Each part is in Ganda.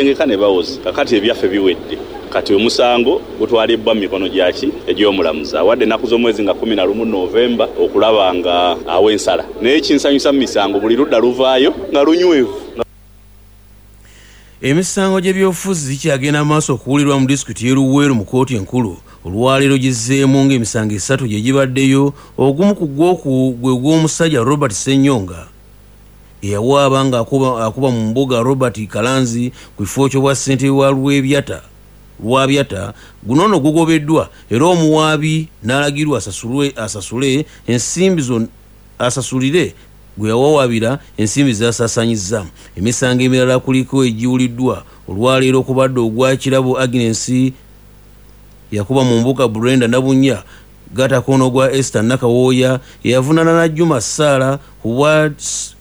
Baasengeka ne bawoza kakati ebyaffe biwedde. Kati omusango gutwalibbwa mu mikono gyaki egy'omulamuzi awadde ennaku z'omwezi nga 11 November okulaba nga awa ensala. Naye ekinsanyusa mu misango buli ludda luvaayo nga lunywevu. Emisango gy'ebyobufuzi gikyagenda mu maaso okuwulirwa mu disitulikiti y'e Luweero mu kkooti enkulu. Olwaleero gizzeemu ng'emisango esatu gye gibaddeyo, ogumu ku gwo gwe gw'omusajja Robert Ssenyonga eyawaaba ng'akuba mu mbuga Robert Kalanzi ku kifo ky'obwa ssentebe wa Lwebyata Lwabyata. Guno nno gugobeddwa era omuwaabi n'alagirwa asasule ensimbi asasulire gwe yawawaabira ensimbi z'asaasaanyizza. Emisango emirala kuliko egiwuliddwa olwaleero okubadde ogwa Kirabo Agnes yakuba mu mbuga Brenda Nabunnya gattako n'ogwa Esther Nakawooya eyavunaana Najjuma Sarah ku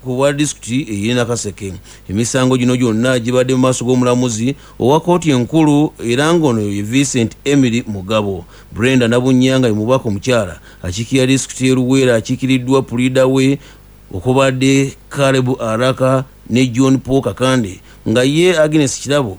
bwa disitulikiti ey'e Nakaseke. Emisango gino gyonna gibadde mu maaso g'omulamuzi owa kkooti enkulu era ng'ono ye Vincent Emily Mugabo. Brenda Nabunnya nga ye mubaka omukyala akiikirira disitulikiti y'e Luweero akiikiriddwa puliida we okubadde Caleb Araka ne John Paul Kakande nga ye Agnes Kirabo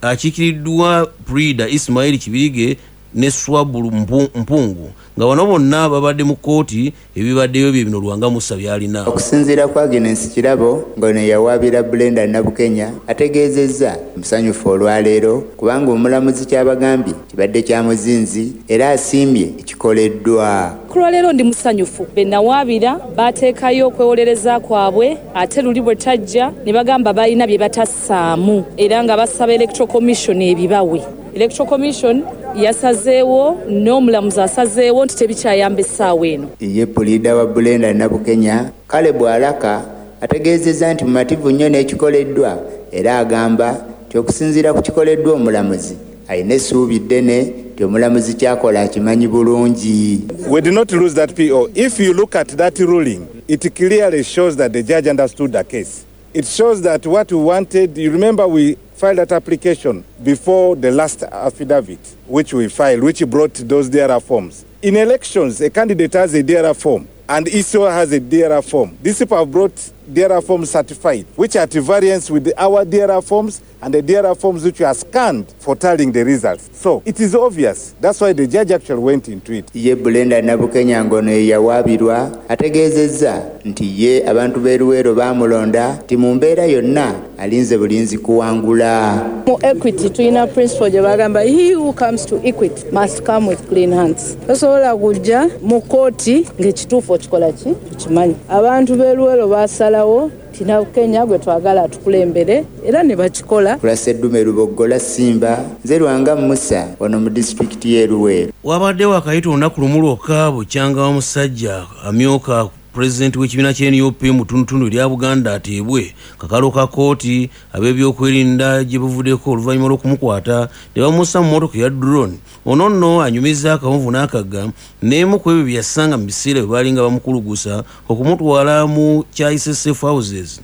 akiikiriddwa puliida Ismail Kibirige ne Swabulu Mpungu nga bano bonna babadde mu kkooti. Ebibaddeyo bye bino Lwanga Musa by'alina. Okusinziira ku Agnes Kirabo ng'ono yawaabira Brenda Nabukenya ategeezezza musanyufu olwaleero kubanga omulamuzi ky'abagambye kibadde kya muzinzi era asiimye ekikoleddwa. Ku lwaleero ndi musanyufu, be nawaabira baateekayo okwewolereza kwabwe ate luli bwe tajja ne bagamba balina bye batassaamu era nga basaba Electoral Commission ebibawe. Electoral Commission yasazeewo n'omulamuzi asazeewo nti tebikyayamba essaawa eno. Ye puliida wa Brenda Nabukenya, Caleb Alaka ategeezezza nti mumativu nnyo n'ekikoleddwa era agamba nti okusinziira ku kikoleddwa omulamuzi alina essuubi ddene nti omulamuzi ky'akola akimanyi bulungi. We did not lose that PO. If you look at that ruling, it clearly shows that the judge understood the case. It shows that what we wanted, you remember we filed that application before the last affidavit, which we filed, which brought those DRR forms. In elections, a candidate has a DRR form and ECO has a DRR form. These people have brought DRR forms certified, which are at variance with our DRR forms and the DRR forms which are scanned for tallying the results. So it is obvious. That's why the judge actually went into it. Ye Brenda Nabukenya ng'ono ye yawaabirwa ategeezezza nti ye abantu b'e Luweero baamulonda nti mu mbeera yonna alinze bulinzi kuwangula. Mu equity tulina principle gye bagamba, "He who comes to equity must come with clean hands." Tosobola kujja mu kooti ng'ekituufu okikola ki okimanyi. Abantu b'e Luweero baasalawo nti Nabukenya gwe twagala atukulembere era ne bakikola. Kulaseddume Luboggola Simba, nze Lwanga Musa wano mu disitulikiti y'e Luweero. Wabadde wakayita olunaku lumu lwokka bukyanga wa musajja amyuka pulezidenti w'ekibiina kya NUP mu ttundutundu erya Buganda ateebwe kakalo ka kkooti ab'ebyokwerinda gye buvuddeko oluvannyuma lw'okumukwata ne bamussa mu mmotoka eya drone. Ono nno anyumiza akawonvu n'akagga n'emu ku ebyo bye yasanga mu biseera bwe baalinga bamukulugusa okumutwala mu kyayise safe houses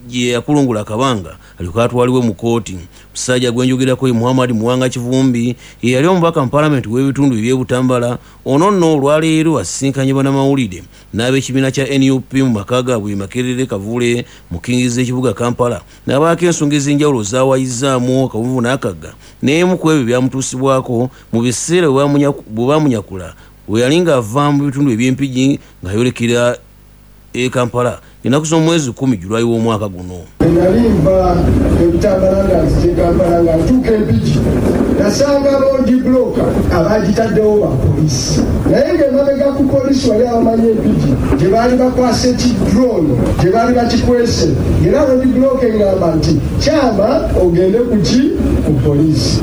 gye yakulungula akabanga alyoke atwalibwe mu kkooti. Musajja gwe njogerako ye Muhammad Muwanga Kivumbi, ye yali omubaka mu paalamenti w'ebitundu eby'e Butambala. Ono nno olwaleero asisinkanye bannamawulire n'ab'ekibiina kya NUP mu maka gaabwe e Makerere Kavule mu kiyingiza ekibuga Kampala, n'abaako ensonga ez'enjawulo z'awayizzaamu akawuvu n'akagga n'emu ku ebyo byamutuusibwako mu biseera bwe bamunyakula bwe yali ng'ava mu bitundu eby'Empigi ng'ayolekera e Kampala ennaku z'omwezi 10 Julayi w'omwaka guno. Nali nva eButambala nga nzije Kampala, nga ntuuka Empigi nasanga road block abagitaddewo ba polisi, naye ng'emabega ku polisi wali abamanyi Empigi gye baali bakwasa eki drone gye baali bakikwese, era road block eŋŋamba nti kyama ogende kuki ku polisi.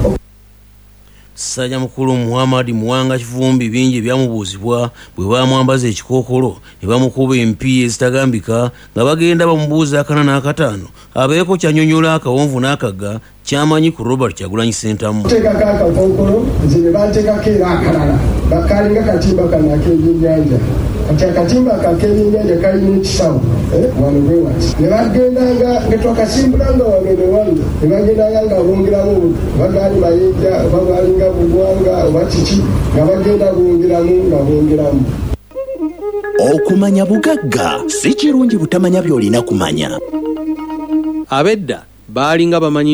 Ssajja mukulu Muhammad Muwanga Kivumbi bingi ebyamubuuzibwa bwe bamwambaza ekikookolo ne bamukuba empi ezitagambika nga bagenda bamubuuza akana n'akataano abeeko kyanyonyola akawonvu n'akagga kyamanyi ku Robert Kyagulanyi Ssentamu. Teekako akakookolo, nze ne banteekako era akalala bakalinga katimba kano ak'ebyennyanja. Kati akatimba ako ak'ebyennyanja kalina ekisawo wano bwe wati, ne bagendanga nga twakasimbulanga wano ne wano, ne bagendanga nga bongeramu oba gaali mayinja oba bwalinga bugwanga oba kiki, nga bagenda bongeramu nga bongeramu. Okumanya bugagga. Si kirungi butamanya by'olina kumanya. Ab'edda baalinga bamanyi nti